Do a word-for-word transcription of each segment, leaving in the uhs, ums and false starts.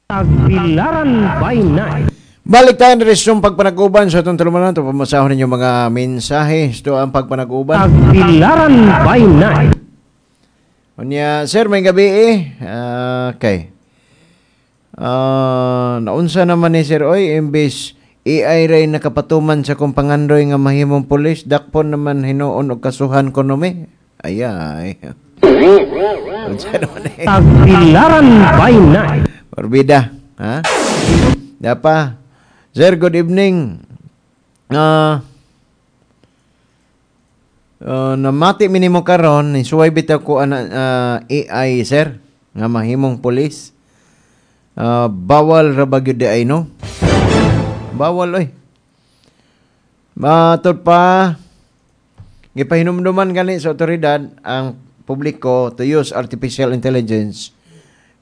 Tagbilaran by night. Balik tayo na sa pagpanaguban sa itong tulumanon. Ito pamasahon ninyo mga mensahe. Ito ang pagpanaguban. Tagbilaran by night. Unya, sir, may gabi eh. Ah, okay. Ah, naunsa naman ni sir oy imbes AI ray nakapatuman sa kong pangandoy nga mahimong pulis dakpon naman hinuon og kasuhan ko mi. Ayay. Unsa naman eh. Tagbilaran by night. Morbida, ha? Dapa. Sir, good evening. Ah, uh, namati minimo karon ni suway bitaw ko ana ah, AI sir nga mahimong pulis. Ah, bawal ra ba gyud di ay no? Bawal oy. Matod pa gipahinumduman gani sa otoridad ang publiko to use artificial intelligence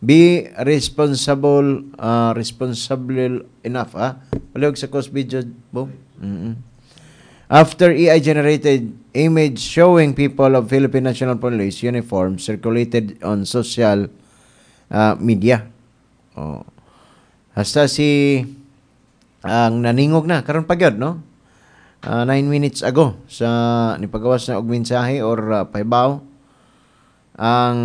be responsible uh, responsible enough ah palihog sa cost video boom mm After AI generated image showing people of Philippine National Police uniform circulated on social uh, media. Oh. Hasta si ang naningog na karon pa gyud no? Uh, nine minutes ago sa nipagawas na og mensahe or uh, pahibaw ang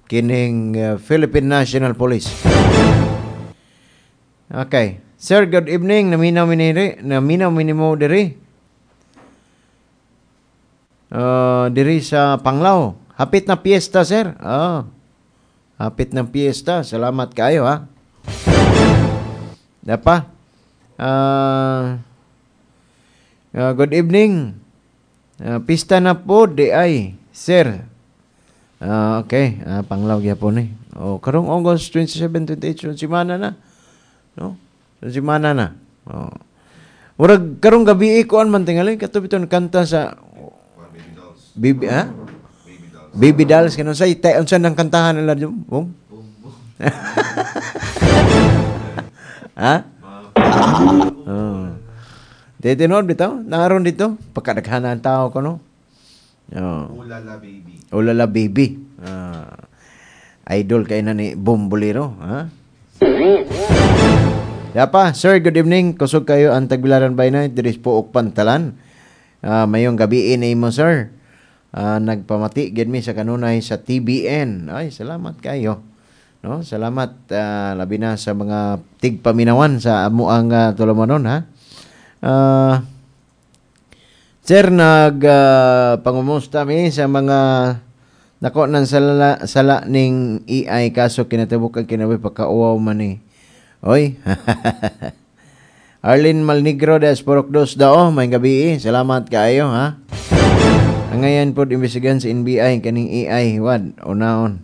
kining uh, Philippine National Police. Okay. Sir, good evening. Naminaw miniri, naminaw minimo diri. Uh, diri sa Panglao. Hapit na piyesta, sir. Oh. Hapit na piyesta. Salamat kayo, ha. Dapa. Uh, uh, good evening. Uh, pista na po, di ay, sir. Uh, okay, uh, Panglao gyapon ni. Oh, karong August twenty-seven, twenty-eight, semana na. No? Semana na. Oh. Murag karong gabi kuan man tingali kato biton kanta sa Baby dolls. Baby ha? Baby dolls. Baby dolls kanang sa tay unsa nang kantahan nila dyan? Bong? Boom, boom. Ha? Oh. Di tinuod bitaw, naron dito pagkadaghanan tao ko no. Oh. Ulala baby. Ulala baby. Ah. idol kay na ni Bombolero, ha? Yapa, sir, good evening. Kusog kayo ang Tagbilaran by night diri po og Pantalan. Ah, mayong gabi ni mo, sir. Ah, nagpamati gid mi sa kanunay sa TBN. Ay, salamat kayo. No, salamat ah, labi na sa mga tigpaminawan sa amuang uh, tulumanon ha. Ah, sir, nag ah, pangumusta mi sa mga nako ng sala, sala ning AI kaso kinatibuk ang kinabuhi pagkauwaw man ni. Oy. Arlene Malnigro des Purok Dos dao, may gabi eh. Salamat kaayo ha. Ang ngayon po imbestigahan sa NBI kaning AI wad unaon.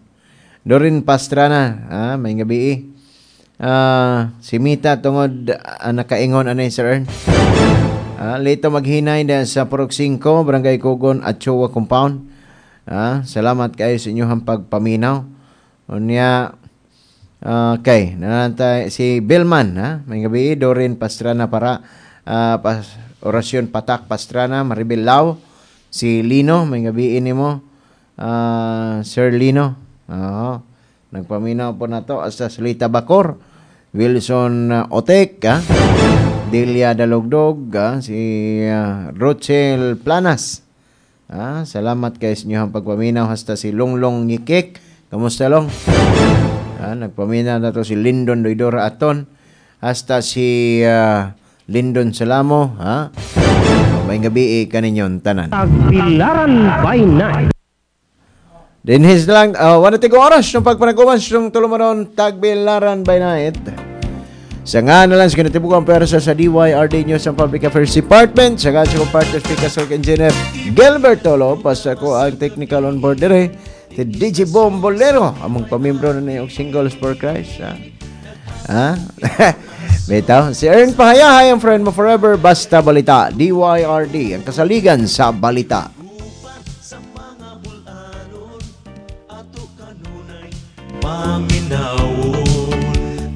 Dorin Pastrana, ha, may gabi eh. Ah, si Mita tungod uh, nakaingon anay Sir Ern. Ah, Lito Maghinay da sa Purok singko, Barangay Kugon, Atchoa Compound. Ah, salamat kayo sa inyong pagpaminaw. Unya Okay, nanantay si Billman, ha? May gabi, Dorin Pastrana para ah, pas, Orasyon Patak Pastrana, Maribel Lau, si Lino, may gabi nimo. Ah, Sir Lino. Oo. Nagpaminaw po na to hasta Salita Bacor, Wilson uh, Otek, ha? Delia Dalogdog, ha? si uh, Rochel Planas. Ah, salamat kay sa inyong pagpaminaw hasta si Longlong Ngikik. Kamusta Long? Ah, nagpaminaw na to si Lindon Doidora Aton hasta si ah, Lindon Salamo, ha? May gabi eh, kaninyon tanan. Tagbilaran by night. Dinhis lang, uh, wala tigo oras ng pagpanaguman sa tulumanon Tagbilaran by night. Sa nga na lang sa kinatibukan pwersa sa DYRD News and Public Affairs Department, sa nga sa kong partner speaker sa engineer Gilbert Tolo, basta ko ang technical on board dire, si DJ Bombolero, among pamimbro na na yung Singles for Christ. Ha? Ha? Bitaw, si Ern Pahayahay ang friend mo forever, basta balita, DYRD, ang kasaligan sa balita. sa mga bulanon ato kanunay paminawon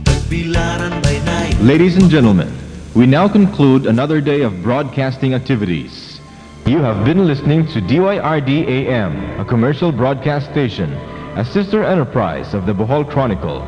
Tagbilaran by night Ladies and gentlemen, we now conclude another day of broadcasting activities. You have been listening to DYRD AM, a commercial broadcast station, a sister enterprise of the Bohol Chronicle.